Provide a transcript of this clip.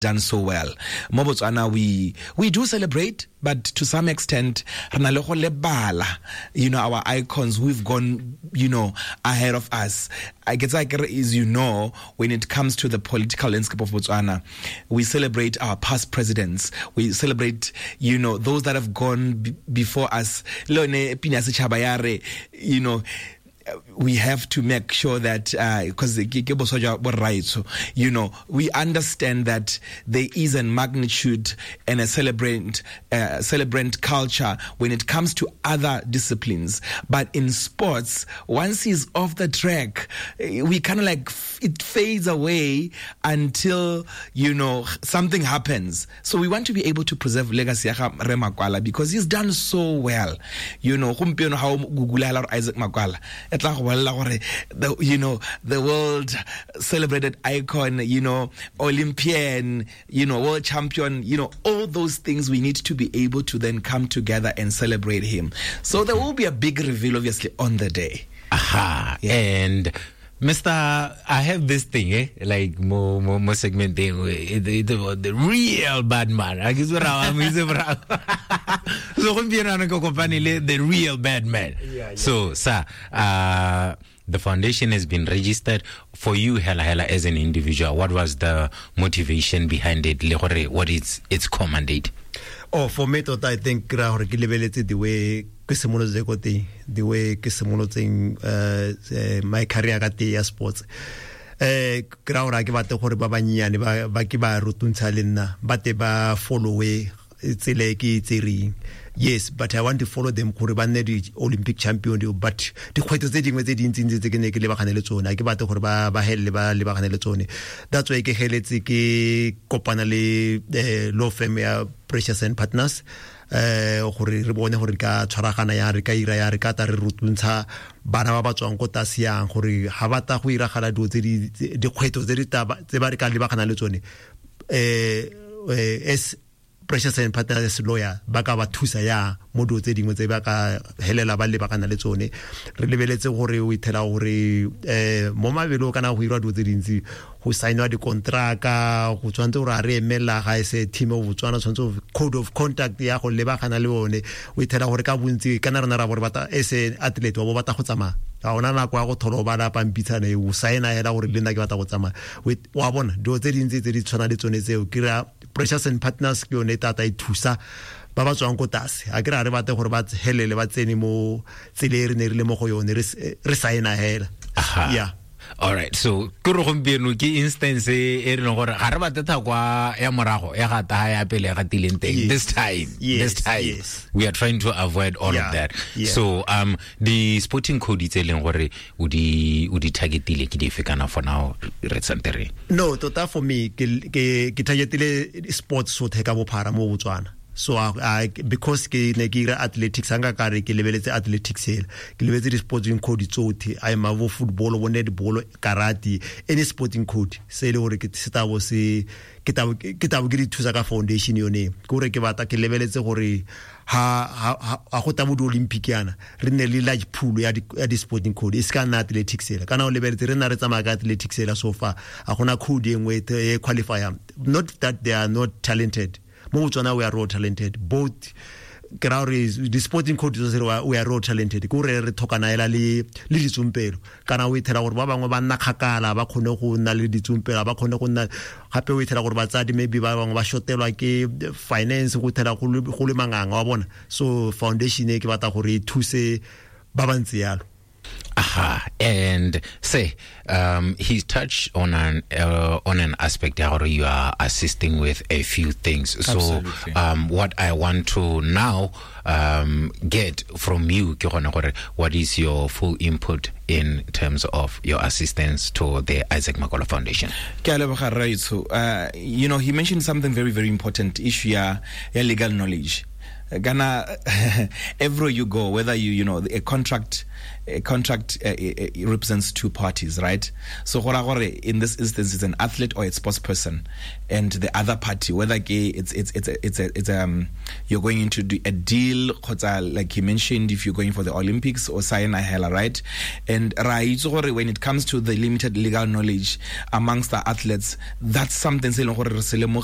Done so well. Mo Botswana, we do celebrate, but to some extent, re na le go lebala, our icons who've gone ahead of us. I guess like, as you know, when it comes to the political landscape of Botswana, we celebrate our past presidents. We celebrate those that have gone before us. Le yone pina ya setšhaba ya re, we have to make sure that because ke boswa jwa borraetsho, we understand that there is a magnitude and a celebrant culture when it comes to other disciplines. But in sports, once he's off the track, we kind of like it fades away until something happens. So we want to be able to preserve legacy ya ga Rre Makwala because he's done so well. Gompieno ha o Google hela gore Isaac Makwala, e tla go bolelela gore the world celebrated icon, Olympian, world champion, all those things we need to be able to then come together and celebrate him. So there will be a big reveal, obviously, on the day. Aha. Yeah. And Mister, I have this thing, Like mo segment thing, the real bad man. I guess what I'm using for. So gompieno ana ke kopane le the real bad man. Yeah, yeah. So, sir, the foundation has been registered for you, hela hela, as an individual. What was the motivation behind it? Le gore, what is its core mandate? Oh, for me, tota, I think ra gore ke lebeletse the way ke simolotse ko teng, the way ke simolotseng, my career ka teng ya sports. Ke ra gore ha ke batle gore ba bannyane ba ke ba rutuntsha le nna, ba te ba follow-e tsela e ke e tsereng. Yes, but I want to follow them gore ba nne di Olympic champion, but dikgwetlho tse dingwe tse dintsintsi tse ke ne ke lebagane le tsone, ha ke batle gore ba helele ba lebagane le tsone. That's why ke heletse ke kopana le law firm ya Precious and Partners, gore re bone gore re ka tshwaragana yang, re ka ira yang, re ka tla re rutuntsha bana ba ba tswang ko tlase yang, gore ha ba tla go iragala dilo tse di, tse, dikgwetlho tse di tla ba, tse ba re ka lebagana le tsone, as Precious and Partners lawyer ba ka ba thusa ya mo dilo tse dingwe tse ba ka helela ba lebagana le tsone. Re lebeletse gore o ithela gore mo mabelong kana go irwa dilo tse dintsi, go saenwa dikontraka, go tshwanetse gore a re emela ga e se team of Botswana, tshwanetse go code of conduct ya go lebagana le bone. O ithela gore ka bontsi kana rena ra gore batla as an athlete wa bo batla go tsamaya, ga ona nako ya go thola o bala pampitshana e o saena hela gore le nna ke batla go tsamaya. Wa bona dilo tse dintsi tse di tshwana le tsone tseo. Ke ra Precious and Partners ke yone tata e thusa ba ba tswang ko tlase. Ha ke re ha re batle gore ba helele ba tsene mo tsela e re ne re le mo go yone, re saena hela. Aha. Yeah. All right, so ke re gompieno ke instance e re leng gore ga re batle thakwa ya morago ya ga taha ya pele ya ga tileng teng. Yes. This Yes, time, yes. we are trying to avoid all of Yeah, that. yeah. So the sporting code tse leng gore o di targetile ke dife kana for now re tsante re? No, tota for me ke targetile sports sotlhe ka bophara mo Botswana. So I, because ke ne ke ira athletics, hanga ka re ke lebeletse athletics hela, ke lebeletse di-sporting code tsotlhe, a ema bo football, bo netball, karate, any sporting code se e le gore ke se tabo se, ke tabo, ke tabo ke di thusa ka foundation yone. Ke gore ke batla ke lebeletse gore ha go tabo di-Olympic yana, re nne le large pool ya di-sporting code, e se ka nna athletics hela. Kana o lebeletse re nna re tsamaya ka athletics hela so far, ha gona code e nngwe e qualifyang. Not that they are not talented. Mo Botswana we are all talented. Both ke ra gore di sporting code tse re we are all talented. Ke gore re tlhokana hela le ditsompelo. Kana o ithela gore ba bangwe ba nna kgakala, ba kgone go nna le ditsompelo, ba kgone go nna gape o ithela gore batsadi maybe ba bangwe ba shotelwa ke finance, go ithela go le manganga wa bona. So foundation e ke batla gore e thuse ba ba ntse yalo. Aha, and say, he touched on an aspect where you are assisting with a few things. So, Absolutely. what I want to now get from you, ke gone gore, what is your full input in terms of your assistance to the Isaac Makwala Foundation? Ke a leboga, Rraetsho. He mentioned something very, very important, issue ya legal knowledge. Kana everywhere you go, whether you you know a contract represents two parties, right? So go gore in this instance it's an athlete or a sports person and the other party, whether ke it's a, it's you're going into a deal kgotsa, like he mentioned, if you're going for the Olympics or sign a hela, right? And ra itse gore when it comes to the limited legal knowledge amongst the athletes, that's something se e leng gore re se lemogile.